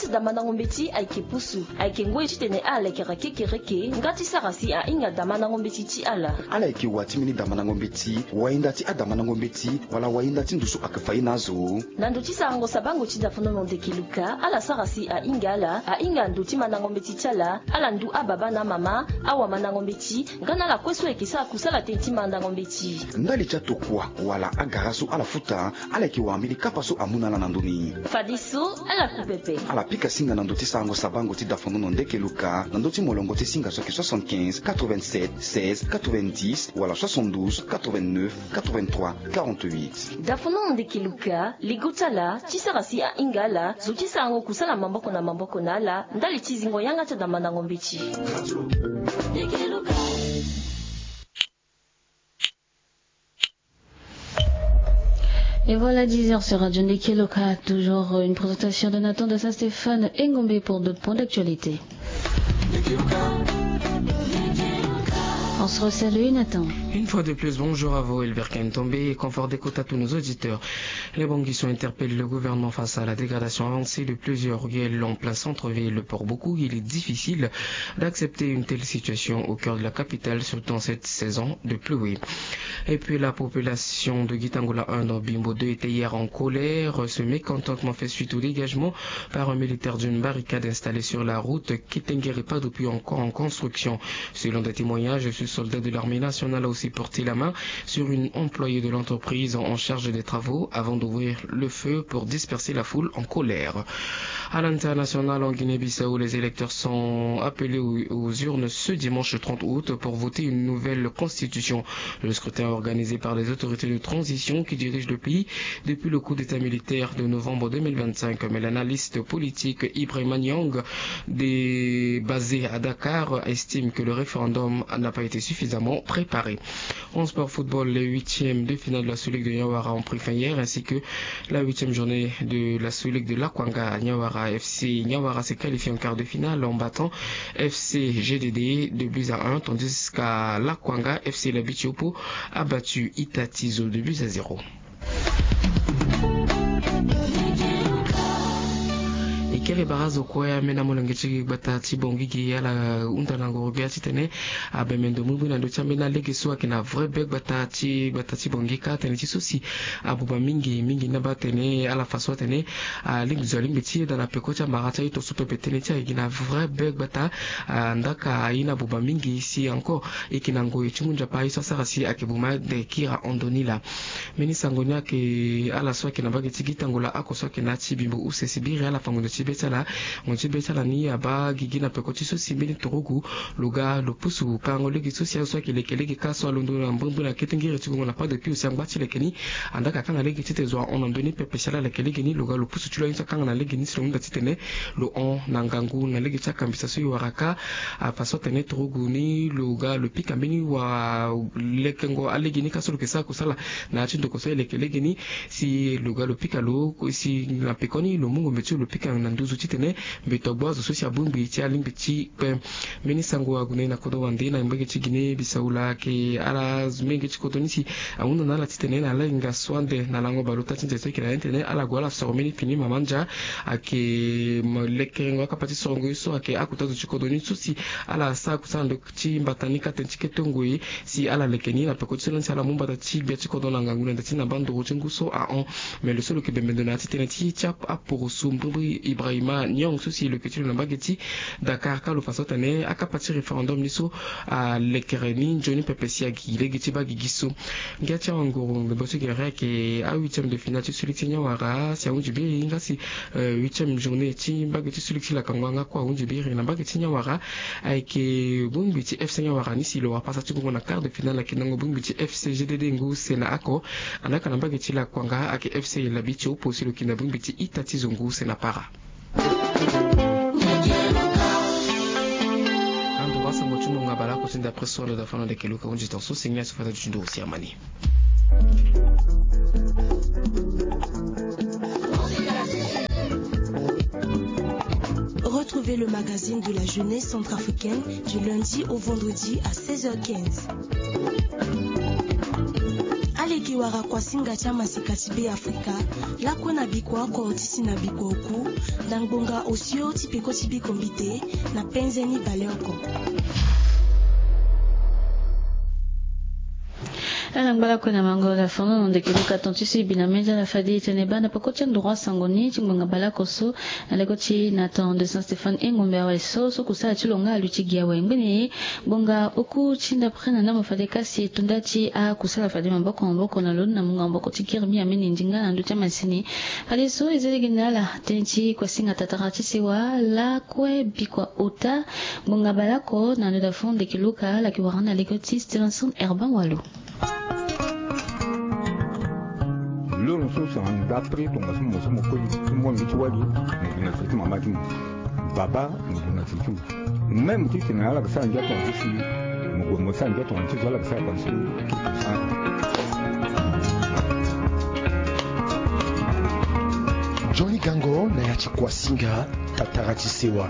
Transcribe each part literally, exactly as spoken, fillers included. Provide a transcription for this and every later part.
Damandango mbeti ayeke pusu, ayeke ngoi titene ala lekera kekereke nga ti sara si ahinga damandango mbeti ti ala. Ala yeke wa ti mbeni damandango mbeti, wainda ti adamandango mbeti, wala wainda ti ndusu ayeke fa ye na azo. Na ndo ti sarango sabango ti dafonono ndeke luka, ala sara si ahinga ala, ahinga ndo ti mandango mbeti ti ala, ala ndu ababa na amama, awamandango mbeti, nga na ala kue so ayeke sara kusala tënë ti mandango mbeti. Ndali ti atokua wala agara so ala futa, ala yeke wara mbeni kapa so amu na ala na ndö ni. Fadeso, ala ku pepe. Ala pika singa na ndo ti sarango sabango ti dafonono ndeke luka, na ndo ti molongo ti singa so ayeke soixante-quinze, quatre-vingt-sept, seize, quatre-vingt-dix, wala soixante-douze, quatre-vingt-neuf, quatre-vingt-trois, quarante-huit. Dafonono ndeke luka, ligo ti ala, ti sara si ahinga ala, zo ti sarango kusala maboko na maboko na ala, ndali ti zingo yanga ti adamandango mbeti. Et voilà dix heures sur Radio Ndeke Loka, toujours une présentation de Nathan de Saint-Stéphane Engombe pour d'autres points d'actualité. On se resalue, Nathan. Une fois de plus, bonjour à vous, Elbert Kentombe, et confort d'écoute à tous nos auditeurs. Les Bangui sont interpellés, le gouvernement face à la dégradation avancée de plusieurs ruelles en plein centre-ville. Pour beaucoup, il est difficile d'accepter une telle situation au cœur de la capitale, surtout en cette saison de pluie. Et puis la population de Gitangola un dans Bimbo deux était hier en colère. Ce mécontentement fait suite au dégagement par un militaire d'une barricade installée sur la route Kitengere Padopio, encore en construction. Selon des témoignages, ce soldat de l'armée nationale a aussi porté la main sur une employée de l'entreprise en charge des travaux avant d'ouvrir le feu pour disperser la foule en colère. À l'international, en Guinée-Bissau, les électeurs sont appelés aux, aux urnes ce dimanche trente août pour voter une nouvelle constitution. Le scrutin organisé par les autorités de transition qui dirigent le pays depuis le coup d'État militaire de novembre deux mille vingt-cinq. Mais l'analyste politique Ibrahima Niang, basé à Dakar, estime que le référendum n'a pas été suffisamment préparé. En sport football, les huitièmes de finale de la Sous-Ligue de Nyawara ont pris fin hier, ainsi que la huitième journée de la Sous-Ligue de Lakwanga. Nyawara F C Nyawara s'est qualifié en quart de finale en battant F C G D D deux buts à un, tandis qu'à Lakwanga, F C Labitiopo a battu Itatizo deux buts à zéro. E kere bara azo kue amena molenge ti gbata ti Bangui gi ala hunda na ngoro gbia titene abembe ndo mu bui na ndö ti ambeni alege so ayeke na vrai be gbata ti gbata ti Bangui kâ tënë ti so si abuba mingi mingi ni abaa tene ala fa so atene alingbi zo alingbi ti yeda na peko ti amara ti aye to so pepe tënë ti aye gi na vrai be gbata. Ndaka aye ni abuba mingi si encore e yeke na ngoi ti ngu nzapa aye so asara si ayeke buma de kira ando ni laa. Mbeni sango ni ayeke ala so ayeke na mbage ti Gitangola oko so ayeke na ya ti Bimbo use si biri ala fa ngonzo ti be ti ala. Ngonzo ti be ti ala ni abaa gigi na peko ti so si mbeni turugu lo ga lo pusu palango lege so si azo so ayeke leke lege kâ so alondo na mbrimbri na kete ngiri ti gongo na pas de pio si angba ti leke ni. Andaa ka akanga lege titene zo ahon na ndö ni pepe si ala leke lege ni lo ga lo pusu ti lo aye so akanga na lege ni si lo hunda titene lo hon na ngangu na lege ti akambisa so e wara kâ. Afa so atene turugu ni lo ga lo pika mbeni wa lekengo alege ni kâ so lo yeke sara kusala na ya ti ndoko so e leke lege ni si lo ga lo pika lo si na pekoni lo mu ngombe ti lo lo pika na nduzu titene mbeto agbu azo so si abongbi ti alingbi ti kpe. Mbeni sango ague na kodro wande na mbage ti Guinée Bissau laa ayeke ala zo mbenge ti kodro ni si ahunda na ala titene na ala hinga so ande na lango baleota ti nze so ayeke na ya ni titene ala gue ala soro mbeni pini mama ndia. Ayeke lekerengo akapa ti sorongo ye so ayeke akota zo ti kodro ni so si ala sara kusala ndo ti mbata ni kâ tënë ti kete ngoi si ala leke ni na peko ti so lani si ala mu mbata ti gbia ti kodro na ngangu na nda ti na baa nduru ti ngu so ahon. Me lo so lo yeke bembe ndo na ya ti tënë ti ti aporoso mbrimbri Ibrahima Niang so si lo yeke ti lo na mbage ti Dakar kâ lo fa so atene akapa ti référendum ni so alekere ni nzoni pepe si agigi lege ti baa gigi so. Ngia ti awanguru mbe bo ti gere ayeke ahuitième de finale ti suli ti Niawara si ahunzi biri nga si huitième journée ti mbage ti suli ti lakango yanga kue ahunzi biri na mbage ti Niawara. Ayeke bongbi ti F C Niawara ni si lo wara pasa ti gongo na quart de finale ayeke nango bongbi ti F C G D D ngu use na oko. Andaa ka na mbage ti lakuanga ayeke F C Labi ti opo si lo yeke na bongbi ti ita ti zo ngu use na para. Ando wasango ti mungo abale oko ti nda après so ando da fana ndeke luka hunzi tonso si ngia so fata ti nduru si amani. Retrouvez le magazine de la jeunesse centrafricaine du lundi au vendredi à seize heures quinze. Allez, Ti wara kuasinga ti amaseka ti Be Afrika lakue na bikua oko ti si na bikua oku, na ngbonga osio ti peko ti biko mbite na penze ni baleoko. Ala ngba lakue na mango la fono na ndeke luka ton ti si bi na meza la fadi tene bana poko ti androit sango ni ti ngbonga balako so na leko ti na ton de Saint Stéphane e ngombe awe so so kusala ti lo nga alui ti gi awe ngbeni. Ngbonga oku ti ndapre na ndambo fade kasi e tunda ti akusala fade maboko maboko na lo na mungo maboko ti kiri mbi ameni ndinga na ndö ti amasini. Fade so e zi lege na ala tënë ti kuasinga tatara ti sewa lakue bikua ota. Ngbonga balako na ndö da fo ndeke luka ala yeke wara na lege ti Stevenson Herban Walo. Loro so si na ndapre tongaso mo so mo koli ti mo mbi ti wali mo gue na sere ti mama ti mo. Baba mo gue na sere ti mo. Même ti tene ala yeke sara ngia tongana ti si mo gue mo sara ngia tongana ti so ala yeke sara tongana ti so. Nzoni gango na ya ti kuasinga tatara ti sewa.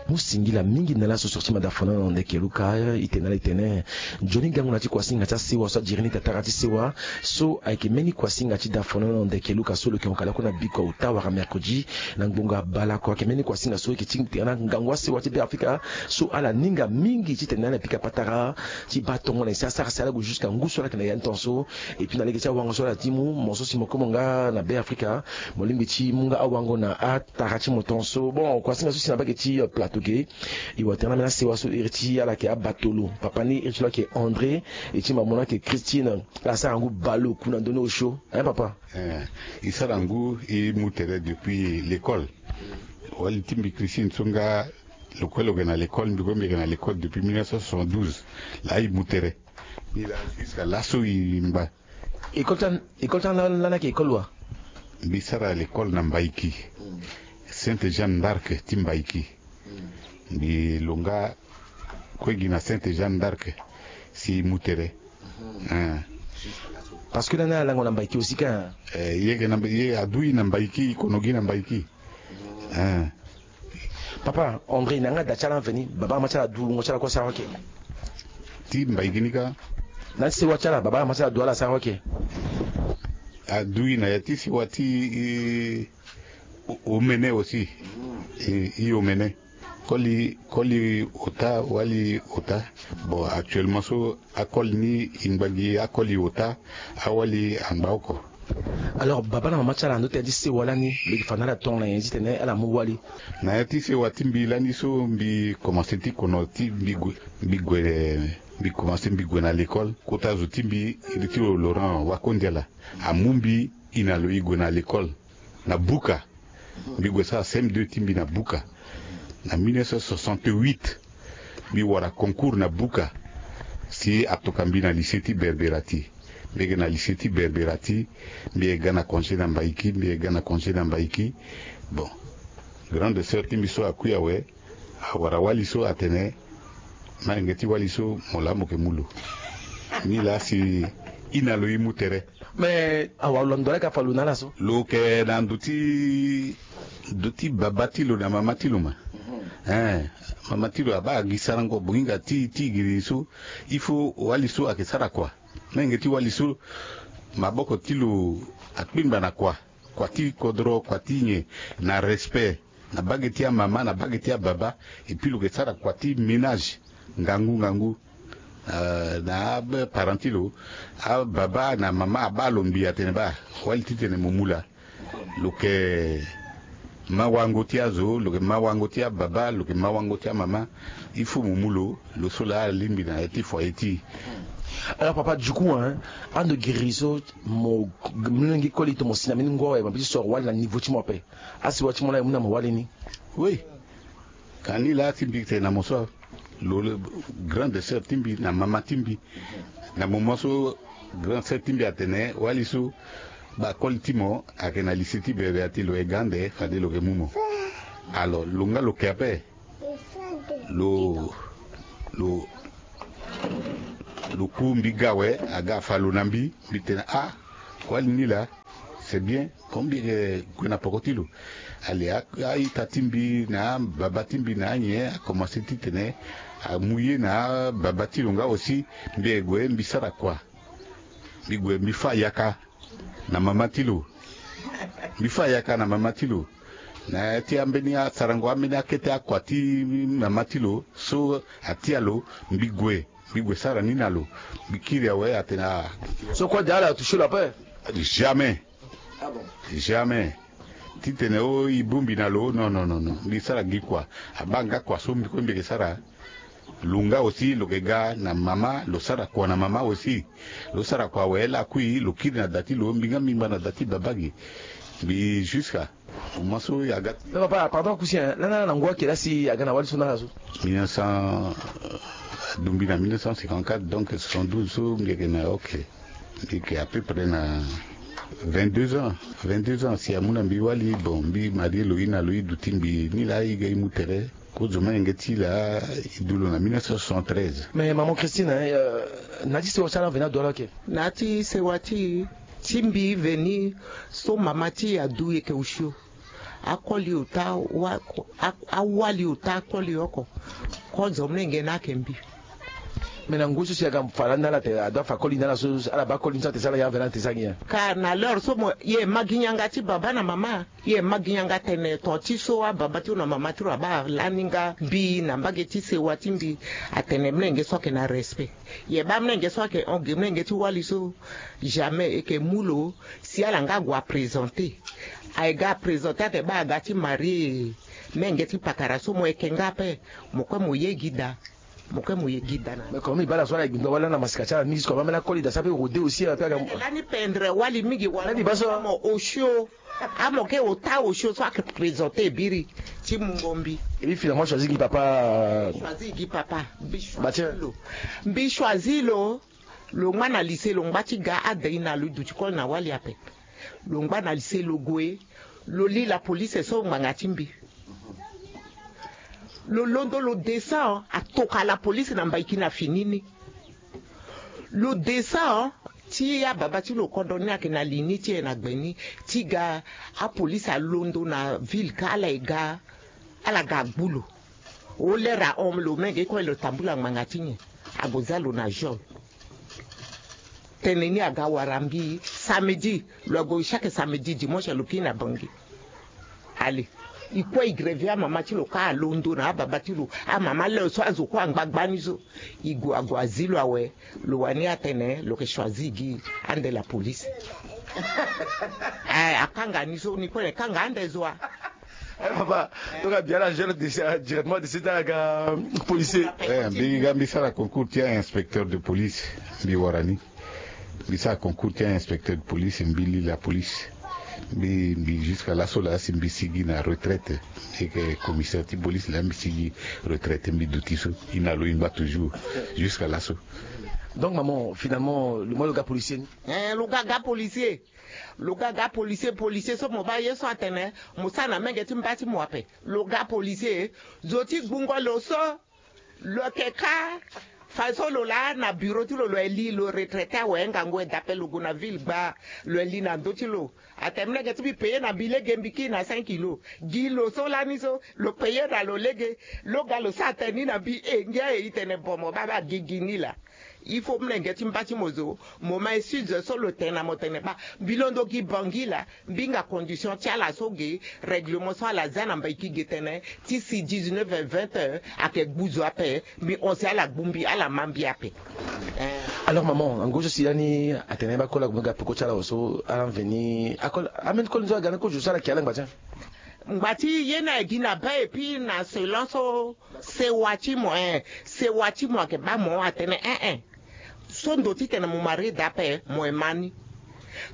Mu singila mingi na laso sur ti mada fono na ndeke luka e tene ala e tene nzoni gango na ya ti kuasinga ti asewa so adiri ni tatara ti sewa. So ayeke mbeni kuasinga ti da fono na ndeke luka so lo yeke hon kala kue na bikua ota wala mercredi na ngbonga balako ayeke mbeni kuasinga so e yeke ti tene na ngangu asewa ti Be Afrika. So ala ninga mingi ti tene na ala e pika patara ti baa tongo na nyen si asara si ala gue jusqu'à ngu so ala yeke na ya ni tongaso. Et puis na lege ti awango so ala ti mu mo so si mo komo nga na Be Afrika mo lingbi ti mu nga awango na atara ti mo tongaso. Bon kuasinga so si na mbage ti plateau ge. E wara tene na ambeni asewa so iri ti ala yeke abatolo papa ni iri ti lo ayeke André. E ti mama mo ni ayeke Christine. Ala sara ngu baleoku na ndö ni osio hein papa. Eh, e sara ngu e mu tere depuis l'école. Wali ti mbi Christine so nga lo kue lo yeke na l'école mbi kue mbi yeke na l'école depuis mille neuf cent soixante-douze. Laa e mu tere. Ni laa jusqu'à laso e ngba. École ti an école ti an lani ayeke école wa? Mbi sara l'école na Mbaiki. Sainte Jeanne d'Arc ti Mbaiki. Mbi lo nga kue gi na Sainte Jeanne d'Arc si e mu tere. Hein. Parce que lani ala lango na Mbaiki aussi ka. Eh, ye yeke na Mba- ye adu e na Mbaiki e kono gi na Mbaiki. Hein. Papa André na yanga da ti ala mveni baba ama ti ala adu wungo ti ala kue asara oke. Ti Mbaiki ni ka. Na ti sewa ti ala baba ama ti ala adu ala asara oke. Adu e na ya ti sewa ti e, o- omene aussi. E, e omene. Koli koli ota wali ota. Bon actuellement so akoli ni e ngba gi akoli ota. Awali angba oko. Alors baba na mama ti ala na ndö tënë ti sewa lani lo yeke fa na ala tongana nyen titene ala mu wali? Na ya ti sewa ti mbi lani so mbi komanse ti kono ti mbi gue mbi gue mbi komanse mbi gue na l'école. Kota zo ti mbi iri ti lo Laurent Wakondiala amu mbi e na lo e gue na l'école na Buka. Mbi gue sara C M deux ti mbi na Buka. Na mille neuf cent soixante-huit mbi wara concours na Buka. Si atoka mbi na lycée ti Berberati. Mbi yeke na lycée ti Berberati. Mbi yeke ga na congé na Mbaiki mbi yeke ga na congé na Mbaiki. Bon, grande sœur ti mbi so akui awe. Awara wali so atene, na yenge ti wali so mo laa mo yeke mu lo. Ni laa si e na lo e mu tere. Mais awa lo na ndo laa e ka fa lo na ala so? Lo yeke na ndo ti ndo ti baba ti lo na mama ti lo ma. Eh, mama ti lo abaa gi sarango bonginga ti ti giri so. Il faut wali so ayeke sara kua. Na yenge ti wali so maboko ti lo akpengba na kua. Kua ti kodro kua ti nyen? Na respect na bage ti amama na bage ti ababa. Et puis lo yeke sara kua ti ménage ngangu ngangu. Euh, na aparent ti lo ababa na mama abaa lo mbi atene baa wali titene mo mu laa. Lo yeke ma wango ti azo lo yeke ma wango ti ababa lo yeke ma wango ti amama. Il faut mo mu lo. Lo so laa alingbi na ya ti foyer ti e. Alors papa du coup hein, ando giri so mo lingbi koli to mo si na mbeni ngu awe mo bi ti soro wali na niveau ti mo ape? Asi wa ti mo laa e mu na mo wali ni. Oui. Ka ni laa ti mbi tene na mo so lo le grande sœur ti mbi na mama ti mbi. Na moment so grande sœur ti mbi atene wali so bakoli ti mo ayeke na lycée ti bere ati lo ye ga ande fade lo yeke mu mo. Alors lo nga lo ke ape. Lo lo lo ku mbi ga awe aga afa lo na mbi. Mbi tene ah wali ni laa. C'est bien. Comme mbi yeke gue na poko ti lo. Ali a, a-ita ti mbi na ababa ti mbi na anyen akomanse titene amu ye na ababa ti lo nga aussi. Mbi ye gue mbi sara kua. Mbi gue mbi fâ yaka na mama ti lo. Mbi fâ yaka na mama ti lo na ya ti ambeni asarango ambeni akete akua ti mama ti lo so atia lo. Mbi gue mbi gue sara ni na lo. Mbi kiri awe atene ah. So kue de ala touché lo ape? Jamais. Ah bon? Jamais. Titene o i bongbi na lo non non non non mbi sara gi kua. Abaa nga kua so mbi kue mbi yeke sara. Lo nga aussi lo yeke ga na mama lo sara kua na mama aussi. Lo sara kua awe lakui lo kiri na da ti lo mbi nga mbi ngba na da ti baba gi. Mbi jusqu'à moment so aga. Mais papa, pardon, kusi hein, lani ala na ngu ayeke laa si aga na wali so na ala so? Mille neuf cents, adumbi na mille neuf cent cinquante-quatre, donc soixante-douze so mbi yeke na, ok. Mbi yeke à peu près na vingt-deux ans. Vingt-deux ans si amu na mbi wali. Bon, mbi marie lo i na lo i duti mbi ni laa i ga i mu tere. Kozo menge ti laa i du lo na mille neuf cent soixante-treize. Mais maman Christine, hein, euh, na ya ti sewa ti ala veni adu ala? Ok. Na ya ti sewa ti, ti mbi veni so mama ti e adu e yeke osio. Akoli ota wa, a, awali ota akoli oko. Kozo menge ni ayeke mbi. Mais na ngoi so si aga fa lani na ala te, adu afa koli na ala so, ala baa koli ni so ate sara ya veni ate sara gi ya? Car na l'heure so mo ye ma gi nyanga ti baba na mama. Ye ma gi nyanga tene to ti so ababa ti lo na mama ti lo abaa lani nga mbi na mbage ti sewa ti mbi. Atene mlenge so ayeke na respect. Ye baa mlenge so ayeke hon ge mlenge ti wali so. Jamais e yeke mu lo si ala nga ague aprésenté. Aye ga aprésenté ate baa aga ti marie. Mlenge ti pakara so mo yeke nga ape. Mo kue mo ye gi daa. Mo kue mo ye gi daa na. Mais comme mi baa ala so ala ye gbingba wali lani na masika ti ala mingi so kua baa mbeni akoli daa so ape rode aussi ape aga. Lani pendre wali mingi wala. Lani baa so mo osio. Amo ke ota osio so ayeke présenter biri ti mungo mbi. Et puis finalement choisir gi papa. Choisir gi papa. Mbi choisir lo. Mbi choisir lo. Lo ngba na lycée lo ngba ti ga ade i na lo i duti koli na wali ape. Lo ngba na lycée lo gue. Lo li la police so ngbanga ti mbi. Lo londo lo descend atoka la police na mbaiki na fini ni. Lo descend ti ababa ti lo kodro ni ayeke na li ni ti e na gbe ni. Ti ga apolice alondo na ville ka ala ye ga. Ala ga agbu lo. O lere ahon lo menge kue lo tambula ngbanga ti nyen? Ague za lo na geôle. Tënë ni aga wara mbi samedi. Lo ague chaque samedi dimanche lo kiri na bangi. Allez. I kue i greve amama ti lo ka alondo na ababa ti lo. Amama leo so azo kue angba gbani so. I gue ague azi lo awe. Lo wani atene lo yeke choisir gi ande la police. Eh, akanga ni so ni kue na e kanga ande zo wa. Eh papa, donc abi ala gère directement de site aga policier. Eh, mbi ga mbi sara concours ti inspecteur de police. Mbi wara ni. Mbi sara concours ti inspecteur de police, mbi li la police. Mbi mbi jusqu'à laso laa si mbi sigi na retraite. Mbi yeke commissaire ti police laa mbi sigi retraite mbi duti so. I na lo i ngba toujours. Jusqu'à laso. Donc maman, finalement lo moi lo ga policier ni? Eh, lo ga ga policier. Lo ga ga policier, policier so mo baa ye so atene mo sara na menge ti mba ti mo ape. Lo ga policier. Zo ti gbungo lo so. Lo yeke ka. Fadeso lo laa na bureau ti lo lo ye li lo retraité awe ngangu e dape lo gue na ville gbaa. Lo ye li na ndö ti lo. Atene mlenge ti mbi paye na mbi lege mbi kiri na cinq kilo. Gi lo so lani so lo paye na lo lege. Lo ga lo sara tene ni na mbi e ngia e i tene bon mo baa baa gigi ni laa. Il faut mlenge ti mba ti mo zo. Mo ma excuse so lo tene na mo tene baa mbi londo gi bangi laa. Mbi hinga condition ti ala so ge. Règlement so ala za na mbaiki ge tene ti si dix-neuf heures vingt heures ayeke gbu zo ape. Mbi hon si ala gbu mbi ala ma mbi ape. Eh. Alors maman, na ngoi so si lani atene baa koli ague mbi ga peko ti ala so ala mveni akoli ambeni koli ni so aga ni kozo so ala yeke ala ngba ti. Ngba ti ye ni aye gi na baa et puis na selon so sewa ti mo eh sewa ti mo ayeke baa mo atene eh eh. So ndo titene mo marie daa ape mo ye ma ni.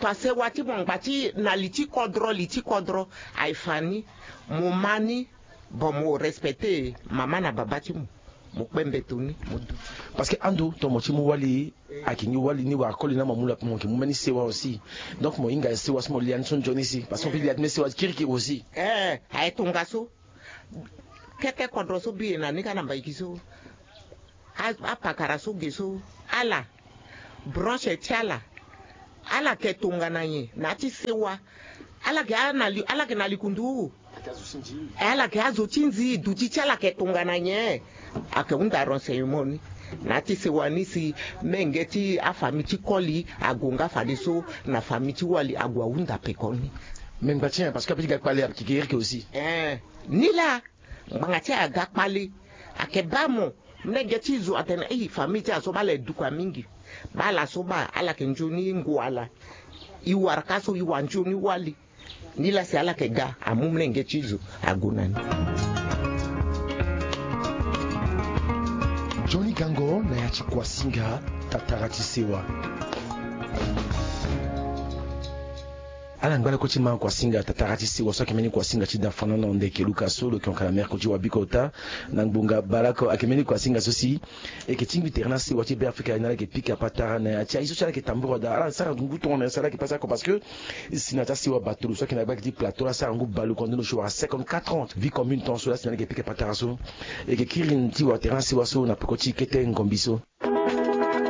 Tongasewa ti mo ngba ti na li ti kodro li ti kodro aye fa ni. Mo ma ni. Bon mo respecte mama na baba ti mo. Mo kpe mbeto ni mo du. Parce que ando tongana mo ti mu wali ayeke ngi wali ni wala koli ni na mo amu lo ape mo yeke mu mbeni sewa aussi. Donc mo hinga sewa so mo lia ni so nzoni si parce que mo peut lia ti mbeni sewa kirikiri aussi. Eh aye tongaso. Kete kodro so mbi ye na ni kâ na mbaiki so. Apakara so ge so ala branche ti ala. Ala yeke tongana nyen na ya ti sewa? Ala yeke na li ala yeke na likundu. Ala yeke azo ti nzi duti ti ala yeke tongana nyen? Ayeke hunda renseignement ni na ya ti sewa ni si menge ti afamille ti koli ague nga fadeso na famille ti wali ague ahunda peko ni. Mais ngba ti nyen? Parce que ape ti ga kpale ayeke iri ke aussi. Ee, ni laa ngbanga ti aga kpale ayeke baa mo. Mlenge ti zo atene ei famille ti ala so baa ala ye duka mingi. Baa ala so baa ala yeke nzoni ngu ala. E wara ka so e wara nzoni wali. Ni laa si ala yeke ga amu mlenge ti zo ague na ni. Nzoni gango na ya ti kuasinga tatara ti sewa. Ala ngba lakue ti ma kuasinga tatara ti sewa so ayeke mbeni kuasinga ti da fana na ndeke luka so lo yeke hon ka na merko ti wabiko ota. Na ngbonga baleoko ayeke mbeni kuasinga so si e yeke tingbi tere na sewa ti be afrika ni ala yeke pika patara na ya ti aye so si ala yeke tambura daa ala sara ngu tongana si ala yeke pasa oko parce que si na ya ti asewa batolo so ayeke na gbaki ti plateau ala sara ngu baleoko ande no si wara cinquante-quatre ans vie commune ton so laa si na ala yeke pika patara so. E yeke kiri ni ti wara tere na sewa so na peko ti kete ngombi so.